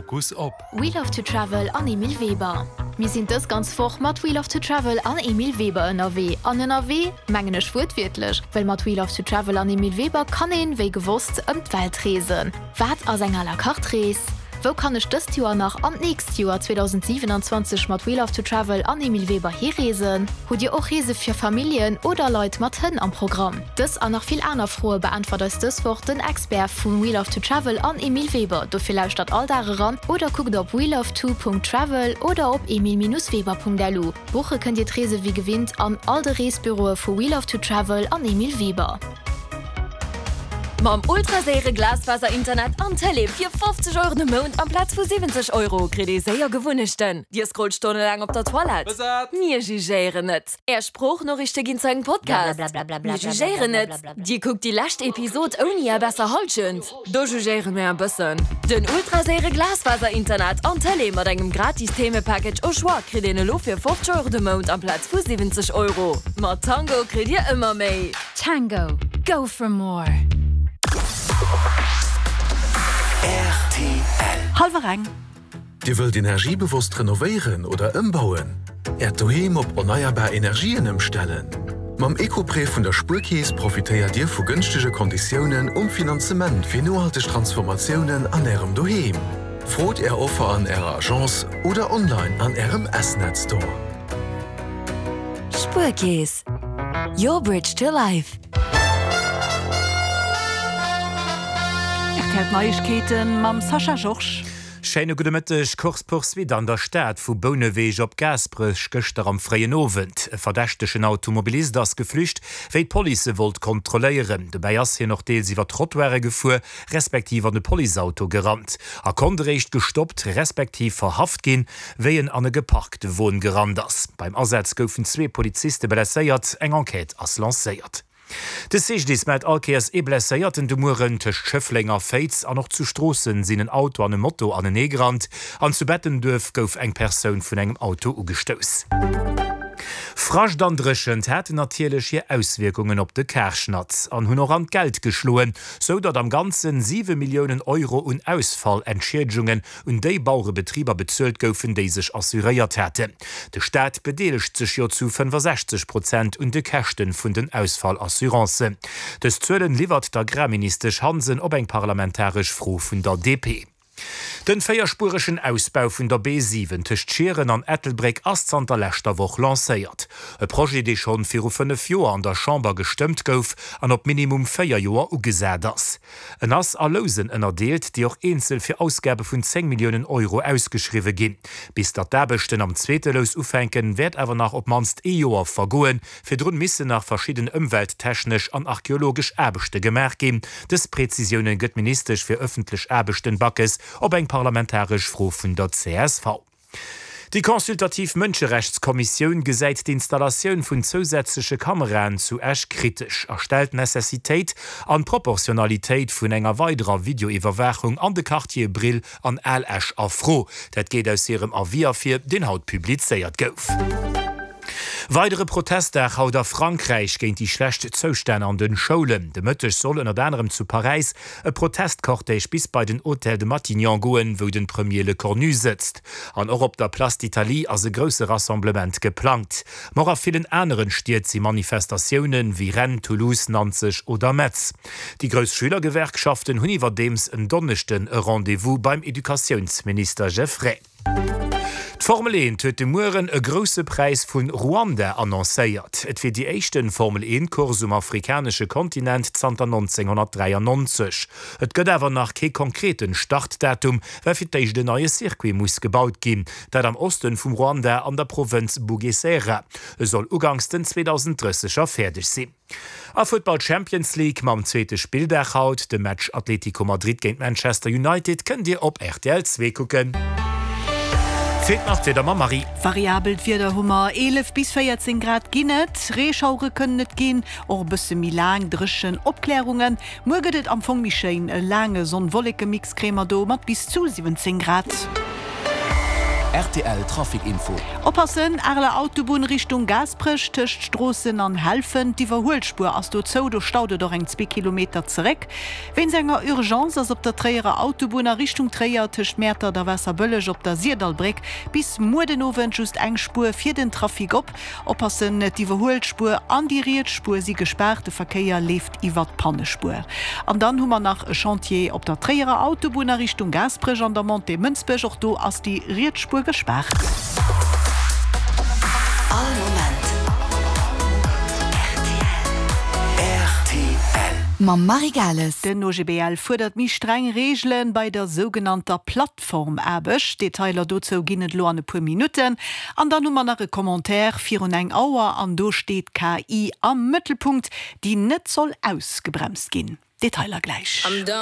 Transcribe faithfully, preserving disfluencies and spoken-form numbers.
Fokus op. We Love to Travel an Emile Weber. Mir sinn dës ganz Woch mat We Love to Travel an Emile Weber ënnerwee. An ënnerwee mengen ech wuertwiertlech, well mat We Love to Travel an Emile Weber kann een, wéi gewosst, ëm d'Welt reesen. Wat ass eng à la carte Rees? Wou kann ech dëst Joer nach an d'nächst Joer zweedausendsiwenanzwanzeg mat We Love to Travel an Emile Weber hireesen? Hutt Dir och Reese fir Familljen oder Leit mat Hënn am Programm? Dës an nach vill aner Froe beäntwert eis dës Woch den Expert vu We Love to Travel an Emile Weber. Dofir lauschtert all Dag eran oder kuckt op weloveto.travel oder op emile-weber.lu. Buche kënnt Dir d'Reese wéi gewinnt an all de Reesbüroe vu We Love to Travel an Emile Weber. Mam ultraséiere Glasfaser-Internet an Tëlee fir fofzeg Euro de Mount amplaz vu siwwenzeg Euro kritt ee séier Gewunnechten. Dir scrollt stonnelaang op der Toilette? Besat! Mir jugéieren net. Är Sproochnoriichte ginn zu engem Podcast? Mir jugéieren net. Dir kuckt déi lescht Episod ouni är besser Hallschent? Do jugéiere mir e bëssen. Den ultraséiere Glasfaser-Internet an Tëlee mat engem gratis Themepackage au choix kritt een elo fir fofzeg Euro de Mount amplaz vu siwwenzeg Euro. Mat Tango kritt Dir ëmmer méi. Tango, go for more! Rtl. Hallwer eng. Dir wëllt energiebewosst renovéieren oder ëmbauen? Äert Doheem op erneierbar Energien ëmstellen? Mam Eco-Prêt vun der Spuerkeess profitéiert Dir vu gënschtege Konditiounen um Finanzement fir nohalteg Transformatiounen an Ärem Doheem. Frot Är Offer an Ärer Agence oder online an Ärem S-Net Store. Spuerkeess, your bridge to life. R T L Neiegkeeten mam Sascha Georges. Schéine gudde Mëtteg. Course-poursuite an der Stad vu Bouneweg op Gaasperech gëschter am fréien Owend. E verdächtegen Automobilist ass geflücht, wéi d'Police e wollt kontrolléieren. Dobäi ass hien och deels iwwer d'Trottoire gefuer, respektiv an e Policeauto gerannt a konnt eréischt gestoppt, respektiv verhaft ginn, wéi en an e geparkte Won gerannt ass. Beim Asaz goufen zwee Poliziste blesséiert, eng Enquête ass lancéiert. De C G D I S mellt all Kéiers ee Blesséierten de Mueren. Tëscht Schëffleng a Féiz an och zu Stroossen sinn en Auto an e Moto anenee gerannt an zu Bettenduerf gouf eng Persoun vun engem Auto ugestouss. Frascht an Dréchent haten natierlech hir Auswierkungen op de Karschnatz an hunn och an d'Geld geschloen, sou datt am Ganzen siwe Milliounen Euro un Ausfallentschiedigungen un déi Bauerebetriber bezuelt goufen, déi sech assuréiert haten. De Staat bedeelegt sech jo zu fënnefasechzeg Prozent un de Käschten vun den Ausfallassurancen. Dës Zuelen liwwert d'Agrarministesch Hansen op eng parlamentaresch Fro vun der D P. Den véierspueregen Ausbau vun der B siwen tëscht Schieren an Ettelbréck ass zanter leschter Woch lancéiert. E Projet, dee schonn viru fënnef Joer an der Chamber gestëmmt gouf an op minimum véier Joer ugesat ass. En ass a Lousen ënnerdeelt, déi och eenzel fir Ausgabe vun zéng Milliounen Euro ausgeschriwwe ginn. Bis datt d'Aarbechten am zweete Lous ufänken, wäert awer nach op d'mannst ee Joer vergoen. Virdrun missen nach verschidden ëmwelttechnesch an archeologesch Aarbechte gemaach ginn. Dës Prezisioune gëtt d'Ministesch fir ëffentlech Aarbechten Backes op eng parlamentaresch Fro vun der C S V. Déi consultativ Mënscherechtskommissioun gesäit d'Installatioun vun zousätzleche Kameraen zu Esch kritesch a stellt d'Necessitéit an d'Proportionalitéit vun enger weiderer Videoiwwerwaachung an de Quartiere Brill an Al Esch a Fro. Dat geet aus hirem Avis ervir, deen haut publizéiert gouf. Weidere Protestdag haut a Frankräich géint déi schlecht Zoustänn an den Schoulen. De Mëtteg soll ënnert anerem zu Paräis e Protestcortège bis bei den Hôtel de Matignon goen, wou den Premier Lecornu sëtzt. An och op der Place d'Italie ass e grousse Rassemblement geplangt. Ma och a villen aneren Stied si Manifestatiounen, wéi Rennes, Toulouse, Nanzeg oder Metz. Déi grouss Schülergewerkschaften hunn iwwerdeems en Donneschden e Rendez-vous beim Educatiounsminister Geffray. D'Formel eent huet de Mueren e Grousse Präis vu Ruanda annoncéiert. Et wier déi éischte Formel eent Course um afrikanesche Kontinent zanter nonzénghonnertdräiannonzeg. Et gëtt awer nach kee konkreten Startdatum, well fir d'éischt en neie Circuit muss gebaut ginn, dat am Osten vum Ruanda an der Provënz Bugesera. E soll uganks den zweedausenddrësseger fäerdeg sinn. A Futtball Champions League mam zweete Spilldag haut, de Match Atletico Madrid géint Manchester United kënnt Dir op R T L zwee kucken. Feelt nach d'Wieder mam Marie. Variabelt Wieder hu mer, eelef bis véierzéng Grad ginn et, Reeschauere kënnen et ginn, och e bësse méi laang dréchen Opklärungen. Muer gëtt et am Fong méi schéin, e laange Sonn-Wolleke-Mix kréie mer do mat bis zu siwwenzéng Grad. Rtl Trafic Info. Oppassen, Areler Autobunn Richtung Gaasperech tëscht Stroossen an Helfen, d'Iwwerhuelspuer ass do zou, do staut et och eng zwee Kilometer zeréck. Wéinst enger Urgence ass op der Tréierer Autobunn a Richtung Tréier tëscht Mäertert a Waasserbëlleg op der Syrdallbréck bis muer den Owend just eng Spuer fir den Trafic op. Oppassen, d'Iwwerhuelspuer an déi riets Spuer si gespaart, de Verkéier leeft iwwert d'Pannespuer. An dann hu mer nach e Chantier op der Tréierer Autobunn a Richtung Gaasperech an der Montée Mënsbech, och do ass déi riets Spuer gespaart. All Moment rtl. Mam Marie Gales. Den O G B L fuerdert méi streng Reegele bei der sougenannter Plattformaarbecht. Detailer dozou ginn et elo an e puer Minutten. An dann hu mer nach e Commentaire virun eng Auer an do steet d'K I am Mëttelpunkt, déi net soll ausgebremst ginn. Detailer gläich.